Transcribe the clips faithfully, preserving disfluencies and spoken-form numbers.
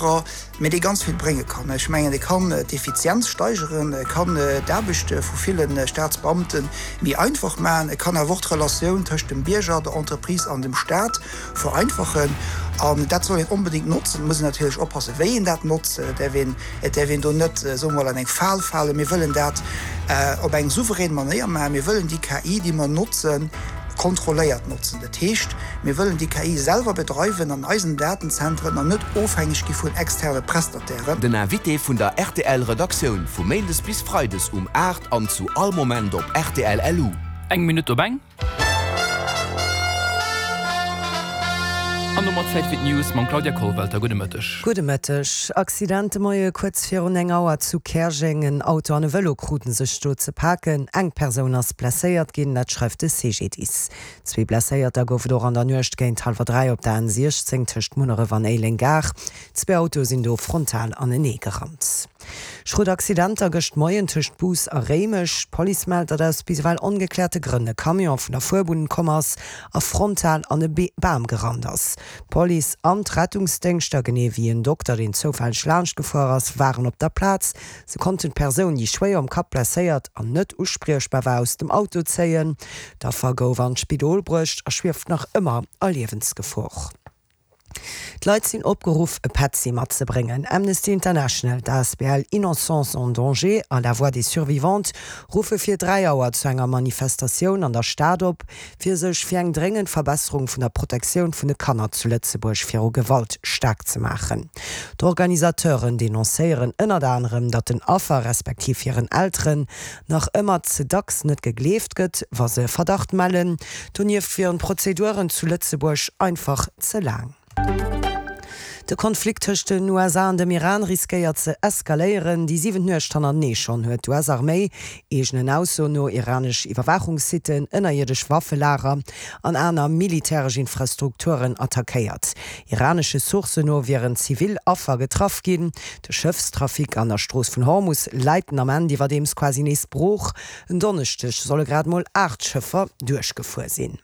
anerer, mee dee ganz vill brénge kann. Ech mengen, e kann d'Effizienz steigeren, e kann d'Aarbecht vu ville Staatsbeamte méi einfach maachen, e kann awer och d'Relatioun tëscht dem Bierger, der Entreprise an dem Staat vereinfachen. An dat soll een onbedéngt notzen. Et muss een natierlech oppassen, wéi een dat notzt. Et däerf een, et däerf een do net, soe mer mol, an eng Fal falen. Mir wëllen dat op eng souverän Manéier maachen. Mir wëllen déi K I, déi mer notzen, kontrolléiert notzen. Dat heescht, mir wëllen déi K I selwer bedreiwen an eisen Datenzentren an net ofhängeg gi vun externe Prestatairen. Den Invité vun der R T L Redaktioun vu méindes bis freides um aacht an zu all Moment op R T L L U. Eng Minutt op eng. An domat Zäit fir d'News mam Claudia Kollwelter. Gudde Mëtteg. Gudde Mëtteg. Accident de Moie kuerz virun eng Auer zu Käerjeng. En Auto an e Vëlo kruten sech do ze paken. Eng Persoun ass blesséiert ginn, dat schreift de C G D I S. Zwee Blesséierter gouf et och an der Nuecht géint hallwer dräi op der N siechzéng tëscht Munneref an Éileng Gare. Zwee Autoe sinn do frontal anenee gerannt. Schrot Accidenter gëscht Moien tëscht Bous a Réimech. D'Police mellt, datt aus bis ewell ongekläerte Grënn e Camion vun der Fuerbunn komm ass a frontal an e Bam gerannt ass. D'Police an d'Rettungsdéngschter, genee wéi en Dokter, deen zoufälleg laanscht gefuer ass, waren op der Plaz. Se konnten d'Persoun, déi schwéier um Kapp blesséiert an net uspriechbar war, aus dem Auto zéien. D'Affer gouf an d'Spidol bruecht a schwieft nach ëmmer a Liewensgefor. D'Leit sinn opgeruff, e Petzi matzebréngen. Amnesty International, d'A S B L Innocence en danger a La Voix des Survivantes ruffe fir dräi Auer zu enger Manifestatioun an der Stad op, fir sech fir eng dréngend Verbesserung vun der Protektioun vun de Kanner zu Lëtzebuerg viru Gewalt staark ze maachen. D'Organisateuren denoncéieren ënnert anerem, datt den Affer respektiv hiren Elteren nach ëmmer ze dacks net gegleeft gëtt, wa se Verdacht mellen. Donieft wieren d'Prozeduren zu Lëtzebuerg einfach ze laang. De Konflikt tëscht den U S A an dem Iran riskéiert ze eskaléieren. Déi siwent Nuecht hannertenee schonn huet d'U S-Arméi eegenen Aussoen no iranesch Iwwerwaachungssitten, ënnerierdesch Waffelager an aner militäresch Infrastrukturen attackéiert. Iranesche Sourcen no wieren zivil Affer getraff ginn. De Schëffstrafic an der Strooss vun Hormus läit den Ament iwwerdeems quasi nees brooch. En Donneschdeg solle grad mol aacht Schëffer duerchgefuer sinn.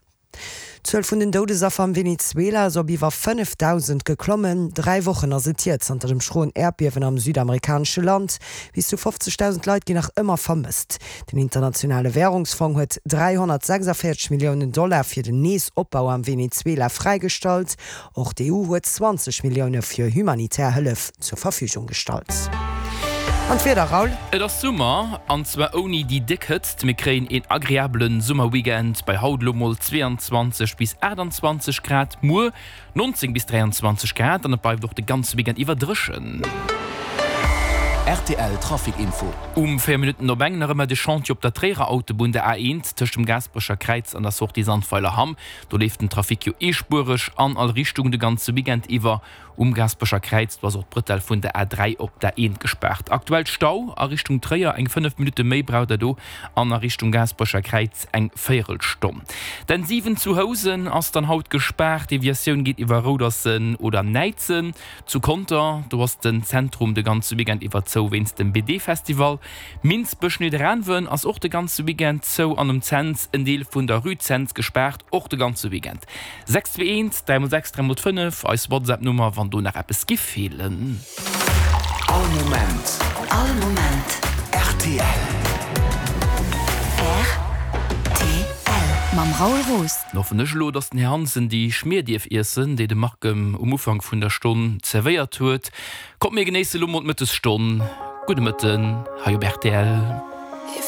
D'Zuel vun den Doudesaffer am Venezuela ass op iwwer fënnefdausend geklommen. Dräi Wochen ass et hier zanter dem schroen Äerdbiewen am südamerikanesche Land. Bis zu fofzegdausend Leit ginn nach ëmmer vermësst. Den internationale Wärungsfong huet dräihonnertsechsundvéierzeg Milliounen Dollar fir den Neesopbau am Venezuela fräigestallt. Och d'E U huet zwanzeg Millioune fir humanitär Hëllef zur Verfügung gestallt. An d'Wieder, Raoul? Et ass Summer, an zwar ouni déi déck Hëtzt. Mir kréien een agreabele Summerweekend bei haut elo mol zwee an zwanzeg bis aachtanzwanzeg Grad, muer nonzéng bis dräianzwanzeg Grad an et bleift och de ganze Weekend iwwer dréchen. R T L Trafic Info. Um véier Minutten op eng nach ëmmer de Chantier op der Tréierer Autobunn, der A eent, tëscht dem Gaasperecher Kräiz an der Sortie Sandweiler Hamm. Do leeft den Trafic jo eespuereg an all Richtung de ganze Weekend iwwer. Um Gaasperecher Kräiz, do ass och d'Brëtell vun der A dräi op der A eent gespaart. Aktuell Stau a Richtung Tréier, eng fënnef Minutte méi braucht der do an a Richtung Gaasperecher Kräiz eng Véierelstonn. D'N siwen zu Housen ass dann haut gespaart, Deviatioun geet iwwer Roudersen oder Näidsen. Zu Conter, do ass den Zentrum de ganze Weekend iwwer zou wéinst dem B D-Festival. Minsbech-Nidderaanwen ass och de ganze Weekend zou an um Cents en Deel vun der Rue Cents gespaart, och de ganze Weekend. sechs zwee eent dräi mol sechs dräi mol fënnef, eis WhatsApp-Nummer, wann do nach eppes giff feelen. All Moment. All Moment. R T L. R T L. Mam Raoul Roos. Dann hoffen ech elo, dass den Här Hansen déi Schmier dierf iessen, déi de Marc em um Ufank vun der Stonn zerwéiert huet. Kommt mir genéisse lo mol d'Mëttesstonn. Gudde Mëtten hei op R T L.